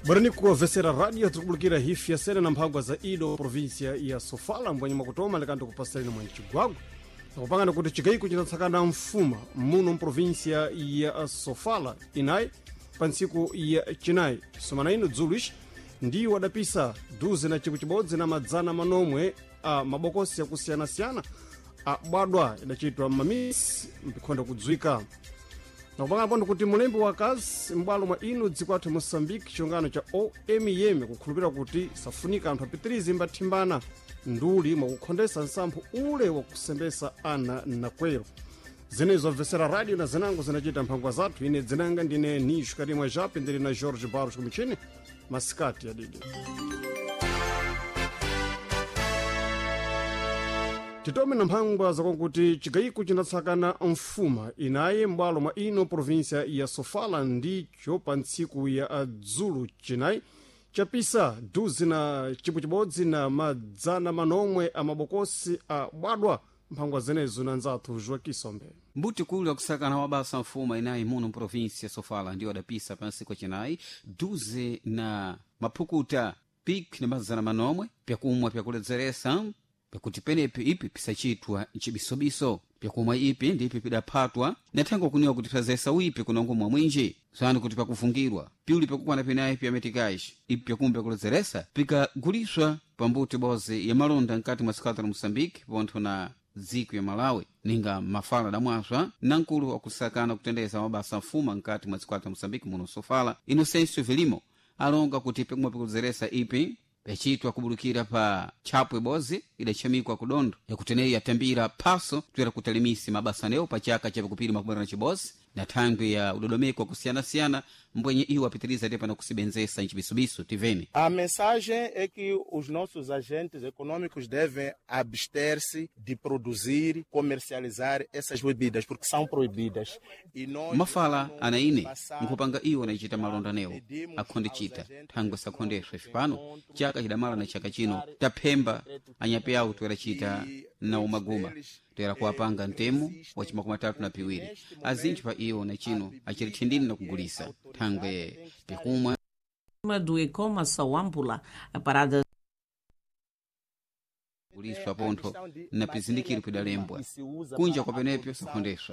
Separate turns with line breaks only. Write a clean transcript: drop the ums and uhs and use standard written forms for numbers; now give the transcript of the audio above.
Barani kuwavesera radio tikubulikira hifi yasene na mphangwa za ido provinsia ya Sofala mbwenye mwakutoma likanti kupasirani mwa Chigwagwa nakupangana kuti chigayiko chinatsakana mfuma muno mprovinsia ya Sofala inayi pa ntsiku ya chinayi somana ino dzulu ici ndiwo adapisa duze na chikwi chibodzi na madzana manomwe a mabokosi akusiyanasiyana abwadwa idachitwa m'mamisi mpikhonda kudzwika. Nakupangana pondo kuti mulembi wa kazi m'bwalo mwa ino dziko athu Moçambique chilungano cha OMM kukhulupirira kuti safunika anthu apitirize mbathimbana nduli mwakukhondesa nsamphu ule wakusembesa ana nakwero. Zenezo obvesera radio na zinango zinachita mphangwa zathu. Ine dzinanga ndine Nisho Karimwa Jape, ndili na George Barros kumichini masikati yadidi. Titome na mphangwa zakonkuti chigayiko chinatsakana mfuma inaye m'bwalo mwa ino provinsia ya Sofala ndicho pa ntsiku ya dzulu chinayi chapisa duzi na chibwe chibodzi na madzana manomwe a mabokosi a bwadwa. Mphangwa zenezo na nzathu Joakisombe.
Mbuti kulu akusakana wabasa mfuma inayi muno mprovinsi ya Sofala ndiwo adapisa pa ntsiku yacinayi duze na maphukuta pik na mazana manomwe pyakumwa pyakuledzeretsa pyakuti penepi ipi pisachitwa mcibisobiso pyakumwa ipi ndipi pidaphatwa nathengo kuniwa kuti pyazesa uipi kunongo mwa mwinji sani kuti pakufungirwa piuli pyakukwana pinayi pyametikaci ipi pyakumwa pyakuledzeretsa pikaguliswa pambuti bozi ya malonda mkati mwa sikata la Moçambique pontho na dziko ya Malawi ninga mafala damwaswa na nkulu wakusakana kutendeza mabasa mfuma mkati mwa dziko la Moçambique muno Sofala Inocêncio Vilimo alonga kuti pyakumwa pyakuledzeretsa ipi pyacitwa kubulukira pa tchapwe bozi idachamikwa kudondo yakuteneyi yatambira phaso toera kutalimisi mabasa newo pa chaka cha pakupiri makumi na chibozi na thangwi ya udodomeko wakusiyanasiyana mbwenye iwo apitiriza te pano kusibenzesa mcibisubiso tiveni.
A mensagem é que os nossos agentes econômicos devem abster-se de produzir, comercializar essas bebidas, porque são proibidas. E nós
mafala
no
ana ine
passado,
nkhupanga iwo anacita malonda newo
pedimos
akhondicita
aos agentes
thangwe sakhondeswa ipano
econômicos
chaka chidamala na chaka chino taphemba anyape awo toeracita na umaguma toera kuwapanga ntemo wa chimakumi atatu na piwiri azinthu pa iwo na chino achiri thindini na kugulisa thangwe pikumwa
do Ecoma Sawambula, a parada
kuliswa pontho na pizindikiro pidalembwa kunja kwa penepyo sakhondeswa.